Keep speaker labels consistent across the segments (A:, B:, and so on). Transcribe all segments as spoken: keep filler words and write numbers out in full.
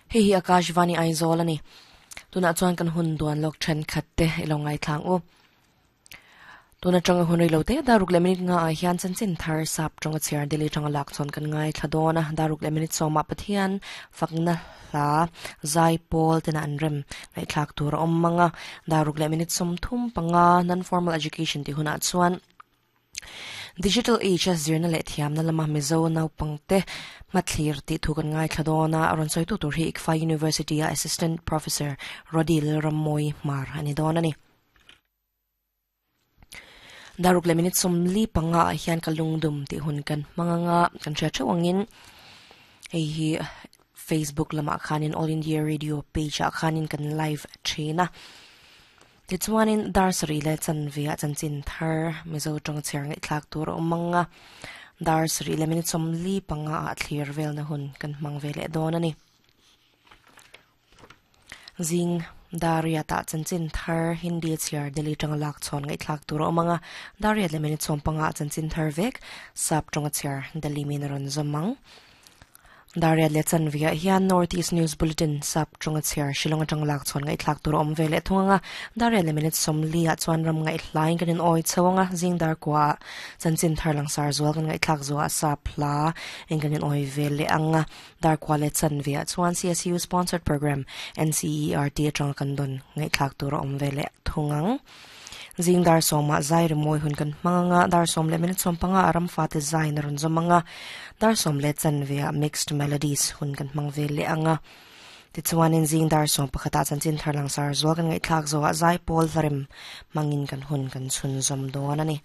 A: Hei hi Akashvani Aizawl ani. Tuna chuan kan hun duan lok then khat te ilo ngai thlang u. Tuna tanga hun rei lo te daruk le minute nga a hian chanchin thar sap tonga chair deli tanga lak chon kan ngai thladona daruk le minute soma Pathian fakna hla zai pol tena an rem ngai thlak tur awm manga daruk le minute som thum panga non formal education ti huna chuan Digital Age zirna le thiam na lama Mizo naupangte mathlir ti thu kan ngai thladona aron soi tu tur hi I C F A University a Assistant Professor Rodil Ramoy Mar ani don ani. Daruk le minute som li panga hian kalungdum ti hun kan manganga kan thra thawangin hei hi Facebook lama khanin All India Radio page a khanin kan live thina. Ti chuanin dar sari le chanvia chanchin thar Mizo tong cher ngai thlak tur awmanga dar sari le minute som li panga a thlir vel na hun kan hmang ve le dawn ani. Zing daria ta chanchin thar Hindi chiar Delhi tang lak chon ngai thlak tur awmanga daria le minute som panga chanchin thar vek sap tong chiar Delhi min ron zamang. Daria le chanvia hian North East News Bulletin sap tonga chiar Shillong atang lak chon ngai thlak tur awm ve le thunga daria le minute som li a chuan ram ngai hlain kanin oi chawanga zing dar kwa chanchin thar lang sar zual kan ngai thlak zuwa sap hla eng kanin oi ve le anga dar kwa le chanvia chuan C S U sponsored program N C E R T atang kan don ngai thlak tur awm ve le thungang. Zing dar soma zai moi hun kan manganga dar som le minute som panga aram fa te zai na ron zomanga dar som le chanvia mixed melodies hun kan mang ve le anga ti chuan in zing dar som pakhata chanchin tharlang sar zo kan ngai thlak zo zai pol tharem mangin kan hun kan chun zom don ani.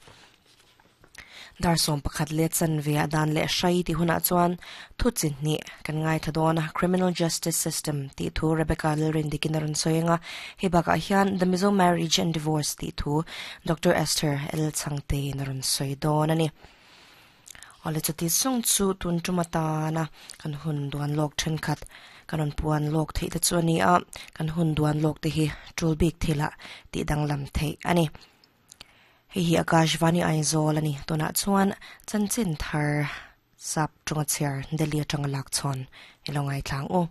A: Dar som pakhat le chanvia dan le shai ti huna chuan thu chin ni kan ngai thadona criminal justice system ti thu Rebecca Lilrin dikinaron soyenga hebaka hian the Mizo marriage and divorce ti thu Doctor Esther L Changte naron soidon ani. Ole chati song chu tun tumata na kan hun duan lok then khat kanon puan lok thei te chu ani a kan hun duan lok te hi tul bik thila ti danglam thei ani. Hei hi Akashvani Aizawl ani tuna chuan chanchin thar sap tonga chair Delhi atanga lak chon ilongai thlang u.